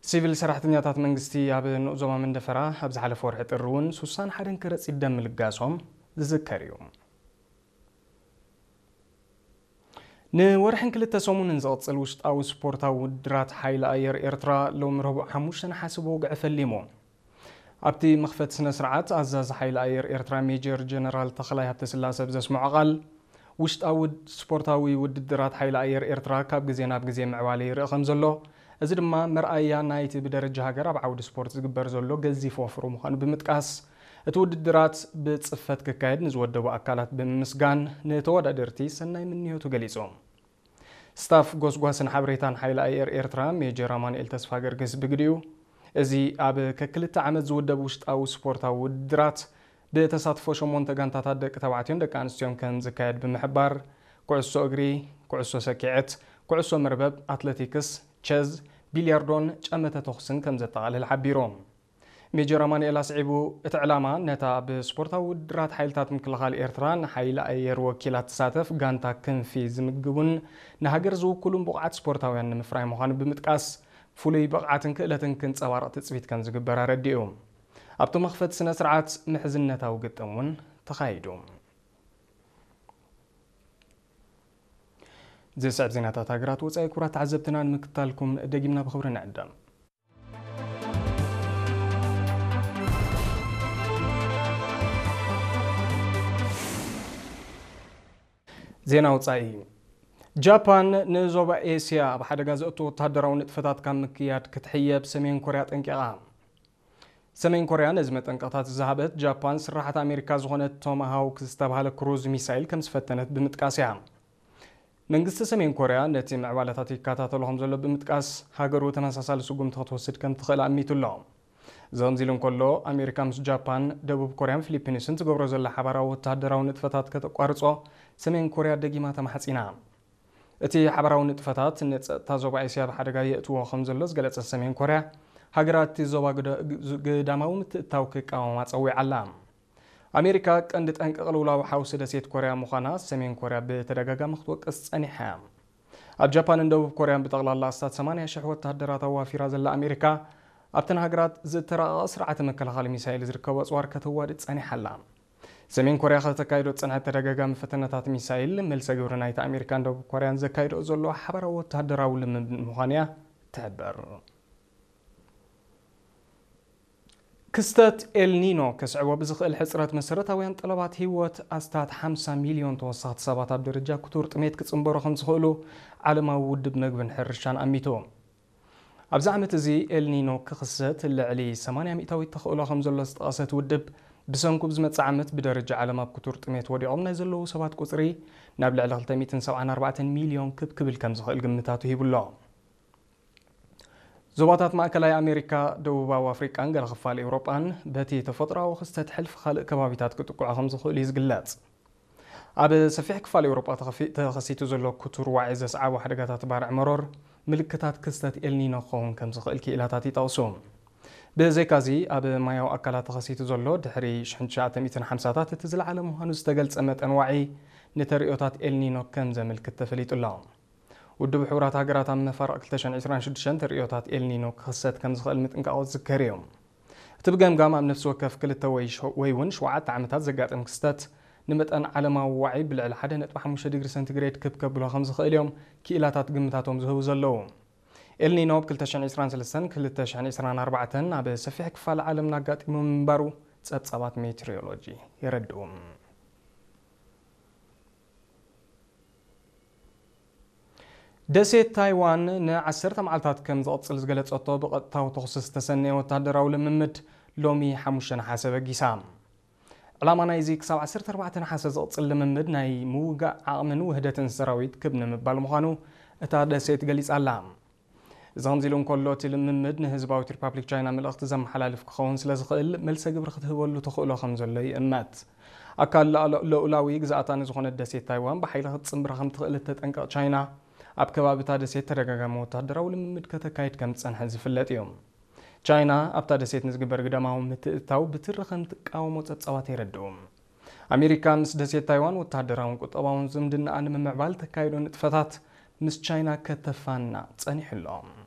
ሲቪል ሰራሕተኛታት መንግስቲ ኣብ ንኡስ ዞባ መንደፈራ ኣብ ዝሓለፈ ወርሒ ጥሪ እውን ሱሳን ሓደን ከረጺት ደም ምልጋሶም ዝዝከር እዩ። ንወርሕን ክልተ ሰሙንን ዝቕጽል ውሽጣዊ ስፖርታዊ ውድድራት ሓይሊ ኣየር ኤርትራ ሎሚ ረቡዕ ሓሙሽተ ነሓሰ ብወግዒ ፈሊሙ። ኣብቲ መኽፈቲ ስነ ስርዓት ኣዛዚ ሓይሊ ኣየር ኤርትራ ሜጀር ጀነራል ተኽላይ ሃብተስላሰ ብዘስምዖ ቃል፣ ውሽጣዊ ውድ-፣ ስፖርታዊ ውድድራት ሓይሊ ኣየር ኤርትራ ካብ ግዜ ናብ ግዜ ምዕባለ ይርእ ከም ዘሎ፣ እዚ ድማ መርኣያ ናይቲ ብደረጃ ሃገር ኣብ ዓውዲ ስፖርት ዝግበር ዘሎ ገዚፍ ወፍሪ ምዃኑ ብምጥቃስ፣ እቲ ውድድራት ብጽፈት ክካየድ ንዝወደቡ ኣካላት ብምምስጋን፣ ንተወዳደርቲ ሰናይ ምንዮቱ ገሊጹ። ስታፍ ጎስጓስን ሓበሬታን ሓይሊ ኣየር ኤርትራ ሜጀር ኣማኑኤል ተስፋ ገርግስ ብግዲኡ፣ እዚ ኣብ ከክልተ ዓመት ዝውደብ ውሽጣዊ ስፖርታዊ ውድድራት ብተሳትፎ ሸሞንተ ጋንታታት ደቂ ተባዕትዮን ደቂ ኣንስትዮን ከም ዝካየድ ብምሕባር፣ ኩዕሶ እግሪ፣ ኩዕሶ ሰኪዐት፣ ኩዕሶ መርበብ፣ ኣትለቲክስ፣ ቸዝ፣ ቢልያርዶን ጨመተ ተኹስን ከም ዘጠቓልል ሓቢሩ። ሜጀር ኣማኑኤል ኣስዒቡ፣ እቲ ዕላማ ነታ ብስፖርታዊ ውድድራት ሓይልታት ምክልኻል ኤርትራ ንሓይሊ ኣየር ወኪላ ትሳተፍ ጋንታ ክንፊ ዝምግቡን ንሃገር ዝውክሉን ብቑዓት ስፖርታውያን ንምፍራይ ምዃኑ ብምጥቃስ፣ ፍሉይ ብቕዓትን ክእለትን ክንጸባረቕ ትጽቢት ከም ዝግበር ኣረዲኡ። ኣብቲ መኽፈቲ ስነ ስርዓት ምሕዝነታዊ ግጥም እውን ተኻይዱ። ዝስዕብ ዜናታት ሃገራት ወጻኢ ክቡራት ተዓዘብትና ንምክታልኩም ደጊምና ብኽብሪ ንዕደም። ዜና ወጻኢ። ጃፓን ንዞባ ኤስያ ኣብ ሓደጋ ዘእቱ ወተሃደራዊ ንጥፈታት ካብ ምክያድ ክትሕየብ ሰሜን ኮርያ ጠንቂቓ። ሰሜን ኮርያ ነዚ መጠንቀቕታት ዝሃበት ጃፓን ስራሓት ኣሜሪካ ዝኾነት ቶማሃውክ ዝተባህለ ክሩዝ ሚሳይል ከም ዝፈተነት ብምጥቃስ እያ። መንግስቲ ሰሜን ኮርያ ነቲ ምዕባለታት ይከታተሎ ከም ዘሎ ብምጥቃስ፣ ሃገሩ ተመሳሳሊ ስጉምቲ ክትወስድ ከም ትኽእል ኣሚቱ ኣሎ። እዚ ከምዚ ኢሉ እንከሎ፣ ኣሜሪካ ምስ ጃፓን፣ ደቡብ ኮርያን ፊሊፒንስን ትገብሮ ዘላ ሓባራዊ ወተሃደራዊ ንጥፈታት ከተቋርጾ ሰሜን ኮርያ ደጊማ ተማሕጺና። እቲ ሓባራዊ ንጥፈታት ንጸጥታ ዞባ ኤስያ ኣብ ሓደጋ የእትዎ ከም ዘሎ ዝገለጸት ሰሜን ኮርያ፣ ሃገራት እቲ ዞባ ግደ-፣ ግዳማዊ ምትእትታው ክቃወማ ጸዊዓ ኣላ። ኣሜሪካ ቀንዲ ጠንቂ ቅልውላው ሓውሲ ደሴት ኮርያ ምዃና ሰሜን ኮርያ ብተደጋጋሚ ክትወቅስ ጸኒሓ እያ። ኣብ ጃፓንን ደቡብ ኮርያን ብጠቕላላ ኣስታት ሰማንያ ሽሕ ወተሃደራት ኣዋፊራ ዘላ ኣሜሪካ፣ ኣብተን ሃገራት ዝተራቐቐ ስርዓተ መከላኸሊ ሚሳይል ዝርከቦ ኣጽዋር ከተዋድድ ጸኒሓ ኣላ። ሰሜን ኮርያ ከተካይዶ ዝጸንሐት ተደጋጋሚ ፈተነታት ሚሳይል፣ መልሰ ግብሪ ናይቲ ኣሜሪካን ደቡብ ኮርያን ዘካይዶ ዘሎ ሓባራዊ ወተሃደራዊ ልምምድ ምዃኑ እያ ትሕብር። ክስተት ኤልኒኖ ከስዕቦ ብዝኽእል ሕጽረት መሰረታውያን ጠለባት ህይወት ኣስታት ሓምሳ ሚልዮን ተወሰኽቲ ሰባት ኣብ ደረጃ ክቱር ጥሜት ክጽንበሩ ከም ዝኽእሉ ዓለማዊ ውድብ መግብን ሕርሻን ኣሚቱ። ኣብዚ ዓመት እዚ ኤልኒኖ ክኽሰት ልዕሊ ሰማንያ ሚእታዊት ተኽእሎ ከም ዘሎ ዝጠቐሰት ውድብ፣ ብሰንኩ ብዝመጽእ ዓመት ብደረጃ ዓለም ኣብ ክቱር ጥሜት ወዲቖም ናይ ዘለዉ ሰባት ቁጽሪ ናብ ልዕሊ ክልተ ሚእትን ሰብዓን ኣርባዕተን ሚልዮን ክብ ክብል ከም ዝኽእል ግምታቱ ሂቡ ኣሎ። ዞባታት ማእከላይ ኣሜሪካ፣ ደቡባዊ ኣፍሪቃን ገለ ክፋል ኤውሮጳን በቲ ተፈጥሮኣዊ ክስተት ሕልፊ ካልእ ከባቢታት ክጥቅዑ ከም ዝኽእሉ እዩ ዝግለጽ። ኣብ ሰፊሕ ክፋል ኤውሮጳ ተኸፊ-፣ ተኸሲቱ ዘሎ ክቱር ዋዒ ዘስዓቦ ሓደጋታት ባርዕ መሮር ምልክታት ክስተት ኤልኒኖ ክኸውን ከም ዝኽእል ክኢላታት ይጠቕሱ። ብዘይካዚ፣ ኣብ ማያዊ ኣካላት ተኸሲቱ ዘሎ ድሕሪ ሽሕን ትሽዓተ ሚእትን ሓምሳታት እቲ ዝለዓለ ምዃኑ ዝተገልጸ መጠን ዋዒ ንተርእዮታት ኤልኒኖ ከም ዘመልክት ተፈሊጡ ኣሎ። ውድብ ሕቡራት ሃገራት ኣብ መፋርቕ ክልተ ሽሕን ዕስራን ሽዱሽተን ተርእዮታት ኤልኒኖ ክኽሰት ከም ዝኽእል ምጥንቃቑ ዝዝከር እዩ። እቲ ብገምጋም ኣብ ነፍሲ ወከፍ ክልተ ወይ ሸ-፣ ወይ እውን ሸውዓተ ዓመታት ዘጋጥም ክስተት ንመጠን ዓለማዊ ዋዒ ብልዕሊ ሓደ ነጥቢ ሓሙሽተ ዲግሪ ሰንቲግሬድ ክብ ከብሎ ከም ዝኽእል እዮም ክኢላታት ግምታቶም ዝህቡ ዘለዉ። ኤልኒኖ ኣብ ክልተ ሽሕን ዕስራን ሰለስተን ክልተ ሽሕን ዕስራን ኣርባዕተን ኣብ ሰፊሕ ክፋል ዓለምና ኣጋጢሙ ምንባሩ ጸብጻባት ሜትሮሎጂ የረድኡ። ደሴት ታይዋን ንዓሰርተ መዓልታት ከም ዝቕጽል ዝገለጸቶ ብቐጥታዊ ተኹሲ ዝተሰነየ ወተሃደራዊ ልምምድ ሎሚ ሓሙሽተ ነሓሰ በጊሳ። ዕላማ ናይዚ ክሳብ ዓሰርተ ኣርባዕተ ነሓሰ ዝቕጽል ልምምድ ናይ ምውጋእ ዓቕምን ውህደትን ሰራዊት ክብ ንምባል ምዃኑ እታ ደሴት ገሊጻ ኣላ። እዚ ከምዚ ኢሉ እንከሎ፣ እቲ ልምምድ ንህዝባዊት ሪፓብሊክ ቻይና መልእኽቲ ዘመሓላልፍ ክኸውን ስለ ዝኽእል፣ መልሰ ግብሪ ክትህበሉ ተኽእሎ ከም ዘሎ ይእመት። ኣካል ልኣሎ-፣ ልኡላዊ ግዝኣታ ንዝኾነት ደሴት ታይዋን ብሓይሊ ክትጽንብራ ከም ትኽእል እተጠንቅቕ ቻይና፣ ኣብ ከባቢ እታ ደሴት ተደጋጋሚ ወተሃደራዊ ልምምድ ከተካይድ ከም ዝጸንሐት ዝፍለጥ እዩ። ቻይና ኣብታ ደሴት ንዝግበር ግዳማዊ ምትእትታው ብትሪ ከም ትቃወሞ ጸብጻባት የረድኡ። ኣሜሪካ ምስ ደሴት ታይዋን ወተሃደራውን ቁጠባውን ዝምድናኣ ንምምዕባል ተካይዶ ንጥፈታት ምስ ቻይና ከተፋና ጸኒሑ ኣሎ።